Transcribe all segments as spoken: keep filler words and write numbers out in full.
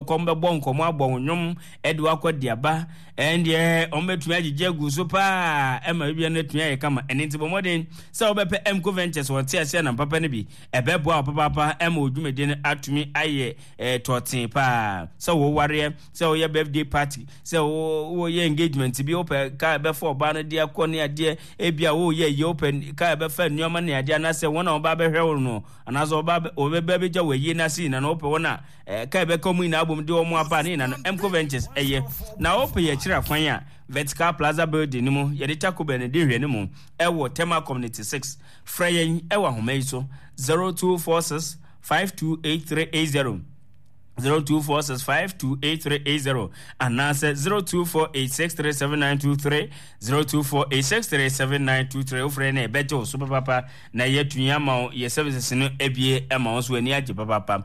wokɔ mbɛbɔ nkɔmmɔ abɔ wo nnwom ɛde wakɔ de aba. Ɛndeɛ ɔmbɛtumi agyegye agu so paa ɛma bibia no atumi ayɛ kama. Ɛno nti bɔ mmɔden sɛ wobɛpɛ Emco Ventures wɔte ase anam papa no bi, ɛbɛboa wo papaapa ɛma wo dwumadi no atumi ayɛ eh, tɔɔtee paa. Sɛ wowareɛ, sɛ woyɛ birthday party, sɛ woyɛ engagement bi, wopɛ kaa ɛbɛfa ɔbaa no de akɔ ne adeɛ, ebi a woyɛ yie, wopɛ kaa ɛbɛfa nneɛma ne adeɛ, anaasɛ wɔn a wɔba abɛhwɛ wo no, anaasɛ wɔba wɔbɛba abɛgya wɔ ayie no ase nyinaa no, wopɛ wɔn a eh, kaa ɛbɛka wɔn nyinaa abom de wɔn aba ne nyinaa no, Emco Ventures ɛyɛ. Na wopɛ yɛ akyiri akwan a, Vertical Plaza Building no mu, yɛde Taco Bell no di nhwɛ no mu, ɛwɔ Tema Community six. Frɛ yɛn ɛwɔ ahoma yi so, zero two four six five two eight three eight zero, zero two four six five two eight three eight zero, anaasɛ zero two four eight six three seven nine two three, zero two four eight six three seven nine two three. Wofrɛ na ɛbɛgye wo so papapa na yɛatumi ama wo yɛ services no abie ama wo so ani agye papapa.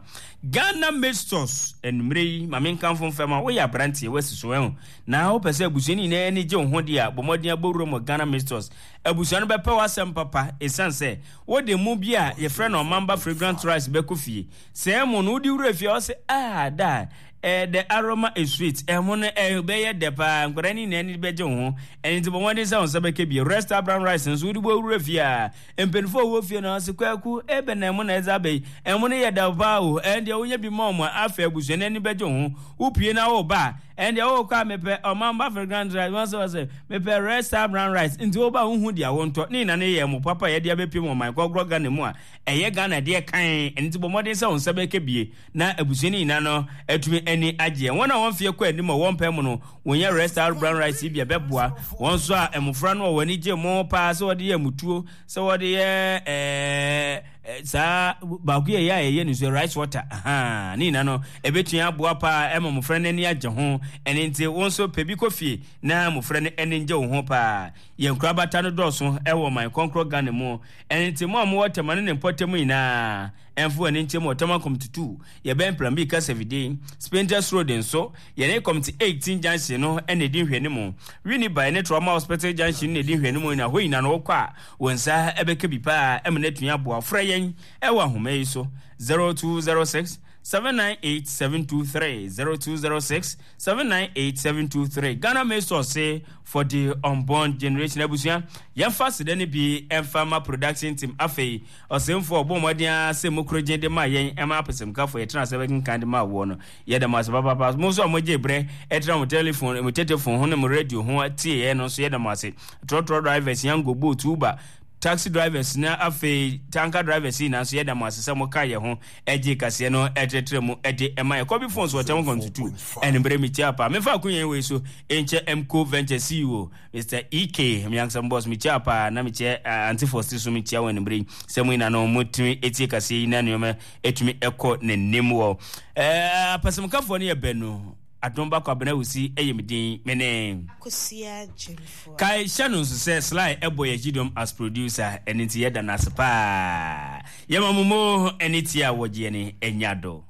Ghana Made Stores, anwummerɛ yi ma menkamfo mfɛm a woyɛ aberanteɛ woasi so ɛho na wopɛ sɛ abusua no nyinaa ani gye wo ho deɛ a, bɔ mmɔden abɔ wuram wɔ Ghana Made Stores. Abusua no bɛpɛ w'asɛm papa ɛsiane sɛ wode mo bi a yɛfrɛ no Ɔmamba Fragrant Rice bɛkɔ fie. Sɛ ɛmo no wode wura fie a, ɔsɛ ah da eh, the aroma is sweet. Ɛmo no ɛbɛyɛ dɛ paa, nkwadaa no nyinaa ani bɛgye wo ho. Ɛno nti bɔ mmɔden sɛ wo nsa bɛka bi. Resta Brown Rice nso wode bɔ wura fie a, mpanimfoɔ a wɔwɔ fie no ɔsɛ kwaku ebe na ɛmo na ɛdze aba yi, ɛmo no yɛ dɛ paa o. Ɛn deɛ wonya bi ma ɔmo a, afei abusua no ani bɛgye wo ho. Wopue na woba a, ɛn deɛ wokɔ a mepɛ Ɔmamba Fragrant Rice, wɔn sɛ wɔsɛ mepɛ Resta Brown Rice, nti woba a wohu deɛ wontɔ. Ne nyinaa no yɛ ɛmo papa a yɛde abɛpie mu ɔman kɔkorɔ Ghana mu a ɛyɛ Ghana deɛ kan. Ɛno nti bɔ mmɔden sɛ wo nsa bɛka bie na abusua no nyinaa no atumi ani agyeɛ. Wɔn a wɔn mfeɛ kɔ anim a wɔn mpɛ mu no, wɔnya Resta Brown Rice yi bi a ɛbɛboa wɔn nso a mmofra no a wɔn ani gye mo paa sɛ wɔde yɛ mutuo, sɛ wɔde yɛ ɛɛ saa baako yɛ yɛ a yɛyɛ no nso rice water, ahaa, ne nyinaa no ɛbɛtumi aboa paa ɛma mmofra no ani agye ho. Ɛno nti wɔn nso pɛ bi kɔ fie na mmofra no ani ngye wo ho paa. Yɛn nkorabata no dɔɔso ɛwɔ ɔman kɔnkorɔ Ghana mu. Ɛno nti mo a mowɔ Tema ne ne mpɔtam nyinaa, ɛmfa w'ani nkyɛ mu wɔ Tema Community two, yɛbɛn Plambi Kasafide, Spintex Road nso, yɛne Community eighteen Junction no na ɛdi nhwɛanimu. Winneba ne Trauma Hospital Junction na ɛdi nhwɛanimu na hɔ nyinaa no wokɔ a, wo nsa ɛbɛka bi paa ɛma no atumi aboa. Frɛ yɛn ɛwɔ ahoma yi so, zero two zero six seven nine eight seven two three, zero two zero six seven nine eight seven two three. Ghana Made Stores for the unborn generation. Abusua, yɛmfa seda no bi ɛmfa ma production team. Afei ɔsɛmfo ɔbɔ mmɔden a sɛ mu korogye de ma yɛn ɛma apɛsɛmkafo yɛtena sɛ bɛkenkan de ma woɔ no, yɛda mo ase papaapa. Mo nso a mogye berɛ ɛtena mo telephone, mo tetefon ho ne mo radio ho tie yɛn no nso, yɛda mo ase. Trɔtrɔ drivers, yango, Bolt, Uber, taxi drivers na afei tanker drivers yi nanso yɛda mo ase sɛ moka yɛn ho ɛgye kaseɛ no ɛtrɛtrɛ mu ɛde ɛma yɛ. Kɔbi phones wɔ kyɛn kɔm tutu ɛnumere mi tia paa. Mefa akonya yi wei so nkyɛ Mco Venture C E O Mister E K, mi ankasa boss, mi tia paa na mi kyɛ Auntie Fosti so, mi tia wɔn ɛnumere yi sɛ mo nyinaa no mo tumi etie kaseɛ yi na nneɛma etumi ɛkɔ n'anim wɔ ɛɛ apɛsɛmkafoɔ no yɛ bɛnu. Adom Bakɔ Abena Wusi ɛyɛ mi din, me ne Akosua Gyemfoɔ. Kae hyɛ no nso sɛ Sly ɛbɔ yɛ gyidom as producer, ɛno nti yɛda no ase paa. Yɛma mo mo ɛne tie a wɔgyeɛ ne ɛnya do.